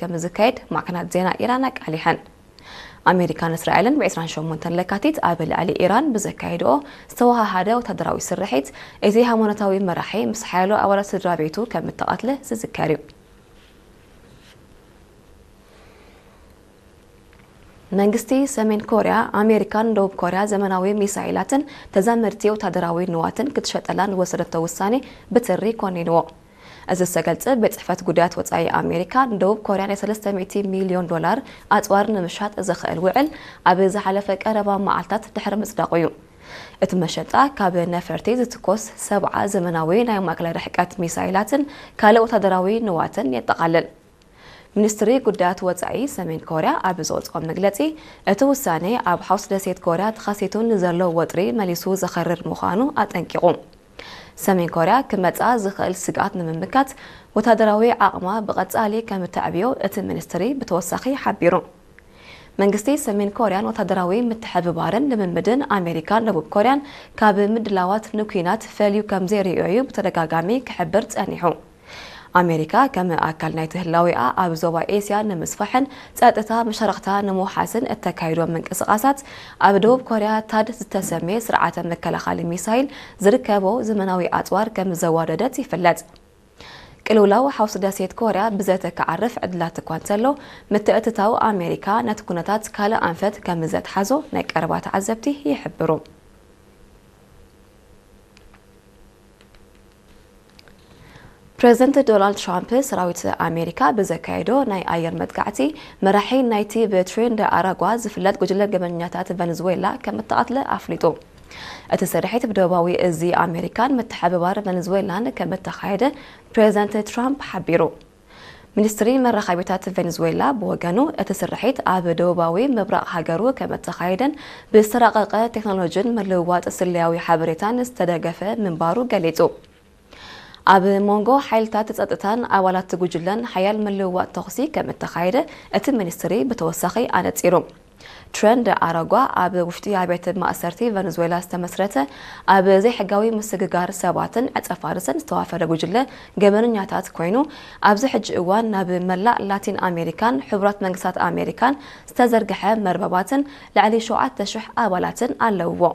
ከም ዝካየድ ማዕከናት ዜና ኢራን ኣቃሊሐን። ኣሜሪካን እስራኤልን ብ ዕስራን ሸሞንተን ለካቲት ኣብ ልዕሊ ኢራን ብዘካየድኦ ዝተወሃሃደ ወታደራዊ ስርሒት፣ እቲ ሃይማኖታዊ መራሒ ምስ ሓያሎ ኣባላት ስድራ ቤቱ ከም እተቐትለ ዝዝከር እዩ። መንግስቲ ሰሜን ኮርያ፣ ኣሜሪካን ደቡብ ኮርያ ዘመናዊ ሚሳይላትን ተዛመድቲ ወታደራዊ ንዋትን ክትሸጠላ ንወሰደቶ ውሳኔ ብትሪ ኮኒንዎ። እዚ ዝተገልጸ፣ ቤት ጽሕፈት ጉዳያት ወጻኢ ኣሜሪካ፣ ንደቡብ ኮርያ ናይ ሰለስተ ሚእቲ ሚልዮን ዶላር ኣጽዋር ንምሻጥ ዘኽእል ውዕል ኣብ ዝሓለፈ ቀረባ መዓልታት ድሕሪ ምጽዳቑ እዩ። እቲ መሸጣ፣ ካብ ነፈርቲ ዝትኮስ ሰብዓ ዘመናዊ ናይ ማእከላይ ርሕቀት ሚሳይላትን ካልእ ወታደራዊ ንዋትን የጠቓልል። ሚኒስትሪ ጉዳያት ወጻኢ ሰሜን ኮርያ ኣብ ዘውጽኦ መግለጺ፣ እቲ ውሳኔ ኣብ ሓውስ ደሴት ኮርያ ተኸሲቱ ንዘሎ ወጥሪ መሊሱ ዘኸርር ምዃኑ ኣጠንቂቑ። ሰሜን ኮርያ ክመጽኣ ዝኽእል ስግኣት ንምምካት፣ ወታደራዊ ዓቕማ ብቐጻሊ ከም እተዕብዮ እቲ ሚኒስትሪ ብተወሳኺ ሓቢሩ። መንግስቲ ሰሜን ኮርያን ወታደራዊ ምትሕብባርን ልምምድን ኣሜሪካን ደቡብ ኮርያን፣ ካብ ምድላዋት ንኲናት ፈልዩ ከም ዘይርእዮ እዩ ብተደጋጋሚ ክሕብር ጸኒሑ። ኣሜሪካ፣ ከም ኣካል ናይቲ ህላዌኣ ኣብ ዞባ ኤስያ ንምስፋሕን ጸጥታ መሻርኽታ ንምውሓስን እተካይዶ ምንቅስቓሳት፣ ኣብ ደቡብ ኮርያ ታድ ዝተሰምየ ስርዓተ መከላኸሊ ሚሳይል ዝርከቦ ዘመናዊ ኣጽዋር ከም ዘዋደደት ይፍለጥ። ቅልውላው ሓውስ ደሴት ኮርያ ብዘተ ክዓርፍ ዕድላት እኳ እንተሎ፣ ምትእትታው ኣሜሪካ ነቲ ኩነታት ካልእ ኣንፈት ከም ዘትሓዞ ናይ ቀረባ ተዓዘብቲ ይሕብሩ። ፕሬዝደንት ዶናልድ ትራምፕ፣ ሰራዊት ኣሜሪካ ብዘካየዶ ናይ ኣየር መጥቃዕቲ፣ መራሒ ናይቲ ብትሬን ደ ኣራጓ ዝፍለጥ ጉጅለ ገበነኛታት ቨነዝዌላ ከም እተቐትለ ኣፍሊጡ። እቲ ስርሒት ብደቡባዊ እዚ ኣሜሪካን ምትሕብባር ቨነዝዌላን ከም እተኻየደ ፕሬዝደንት ትራምፕ ሓቢሩ። ሚኒስትሪ መራኸቢታት ቬኔዙዌላ ብወገኑ፣ እቲ ስርሒት ኣብ ደቡባዊ ምብራቕ ሃገሩ ከም እተኻየደን ብዝተራቐቐ ቴክኖሎጂን ምልውዋጥ ስለያዊ ሓበሬታን ዝተደገፈ ምንባሩ ገሊጹ። ኣብ መንጎ ሓይልታት ጸጥታን ኣባላት ጉጅለን ሓያል ምልውዋጥ ተኹሲ ከም እተኻየደ እቲ ሚኒስትሪ ብተወሳኺ ኣነጺሩ። ትሬንድ ኣረጓ ኣብ ውሽጢ ኣብያተ ማእሰርቲ ቨነዙዌላ ዝተመስረተ፣ ኣብ ዘይሕጋዊ ምስግጋር ሰባትን ዕጸፋርስን ዝተዋፈረ ጉጅለ ገበነኛታት ኮይኑ፣ ኣብዚ ሕጂ እዋን ናብ መላእ ላቲን ኣሜሪካን ሕቡራት መንግስታት ኣሜሪካን ዝተዘርግሐ መርበባትን ልዕሊ ሸውዓተ ሽሕ ኣባላትን ኣለውዎ።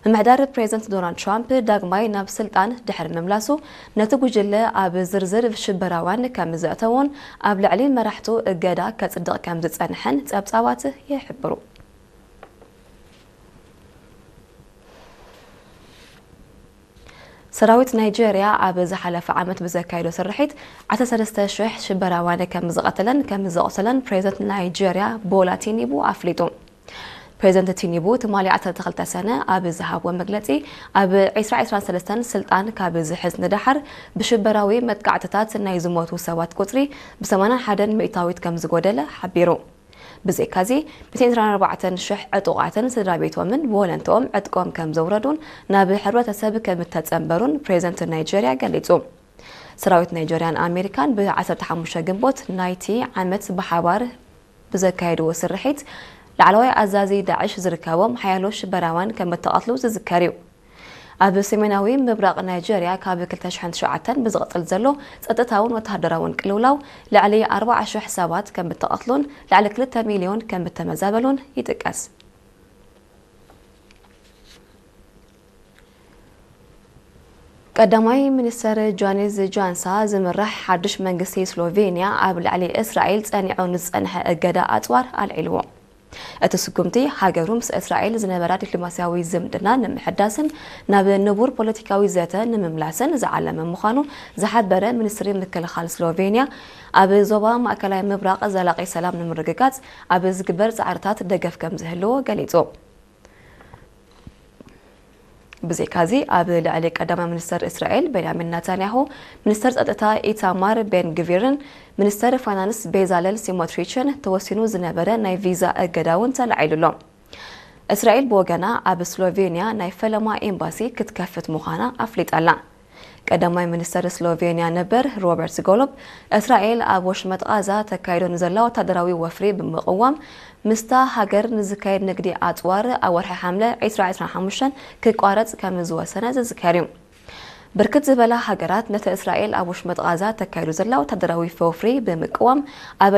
ምምሕዳር ፕሬዝደንት ዶናልድ ትራምፕ ዳግማይ ናብ ስልጣን ድሕሪ ምምላሱ፣ ነቲ ጉጅለ ኣብ ዝርዝር ሽበራውያን ከም ዘእተዎን ኣብ ልዕሊ መራሕቱ እገዳ ከጽድቕ ከም ዝጸንሐን ጸብጻባት ይሕብሩ። ሰራዊት ናይጄርያ ኣብ ዝሓለፈ ዓመት ብዘካየዶ ስርሒት ዓሰርተ ሰለስተ ሽሕ ሽበራውያን ከም ዝቐተለን ከም ዘቑሰለን ፕሬዝደንት ናይጄርያ ቦላ ቲኒቡ ኣፍሊጡ። ፕሬዝደንት ቲኒቡ ትማሊ ዓሰርተ ክልተ ሰነ ኣብ ዝሃብዎ መግለጺ፣ ኣብ ዕስራ ዕስራን ሰለስተን ስልጣን ካብ ዝሕዝ ንደሓር፣ ብሽበራዊ መጥቃዕትታት ናይ ዝሞቱ ሰባት ቁጽሪ ብ ሰማንያን ሓደን ሚእታዊት ከም ዝጎደለ ሓቢሩ። ብዘይካዚ፣ ሚእትን ዕስራን ኣርባዕተን ሽሕ ዕጡቓትን ስድራ ቤቶምን ብወለንትኦም ዕጥቆም ከም ዘውረዱን ናብ ሕብረተሰብ ከም እተጸንበሩን ፕሬዝደንት ናይጄርያ ገሊጹ። ሰራዊት ናይጄርያን ኣሜሪካን ብ ዓሰርተ ሓሙሽተ ግንቦት ናይቲ ዓመት ብሓባር ብዘካየድዎ ስርሒት፣ ላዕለዋይ ኣዛዚ ዳዕሽ ዝርከቦም ሓያሎ ሽበራውያን ከም እተቐትሉ ዝዝከር እዩ። ኣብ ሰሜናዊ ምብራቕ ናይጄርያ ካብ ክልተ ሽሕን ትሽዓተን ብዝቕጽል ዘሎ ጸጥታውን ወተሃደራውን ቅልውላው፣ ልዕሊ ኣርባዓ ሽሕ ሰባት ከም እተቐትሉን ልዕሊ ክልተ ሚልዮን ከም እተመዛበሉን ይጥቀስ። ቀዳማይ ሚኒስተር ጃኒዝ ጃንሳ ዝምራሕ ሓድሽ መንግስቲ ስሎቬንያ፣ ኣብ ልዕሊ እስራኤል ጸኒዑ ንዝጸንሐ እገዳ ኣጽዋር ኣልዒልዎ። እቲ ስጉምቲ፣ ሃገሩ ምስ እስራኤል ዝነበራ ዲፕሎማስያዊ ዝምድና ንምሕዳስን ናብ ንቡር ፖለቲካዊ ዘተ ንምምላስን ዝዓለመ ምዃኑ ዝሓበረ ሚኒስትሪ ምክልኻል ስሎቬንያ፣ ኣብ ዞባ ማእከላይ ምብራቕ ዘላቒ ሰላም ንምርግጋጽ ኣብ ዝግበር ጻዕርታት ደገፍ ከም ዝህልዎ ገሊጹ። ብዘይካዚ፣ ኣብ ልዕሊ ቀዳማይ ሚኒስተር እስራኤል ቤንያሚን ናታንያሁ፣ ሚኒስተር ጸጥታ ኢታማር ቤን ግቪርን ሚኒስተር ፋይናንስ ቤዛለል ሲሞትሪችን ተወሲኑ ዝነበረ ናይ ቪዛ እገዳ እውን ተላዒሉ ኣሎ። እስራኤል ብወገና፣ ኣብ ስሎቬንያ ናይ ፈለማ ኤምባሲ ክትከፍት ምዃና ኣፍሊጣ ኣላ። ቀዳማይ ሚኒስተር ስሎቬንያ ነበር ሮበርት ጎሎብ፣ እስራኤል ኣብ ወሽመጥ ቓዛ ተካይዶ ንዘላ ወታደራዊ ወፍሪ ብምቕዋም፣ ምስታ ሃገር ንዝካየድ ንግዲ ኣጽዋር ኣብ ወርሒ ሓምለ ዕስራ ዕስራን ሓሙሽተን ክቋረጽ ከም ዝወሰነ ዝዝከር እዩ። ብርክት ዝበላ ሃገራት ነቲ እስራኤል ኣብ ወሽመጥ ቓዛ ተካይዶ ዘላ ወታደራዊ ወፍሪ ብምቅዋም ኣብ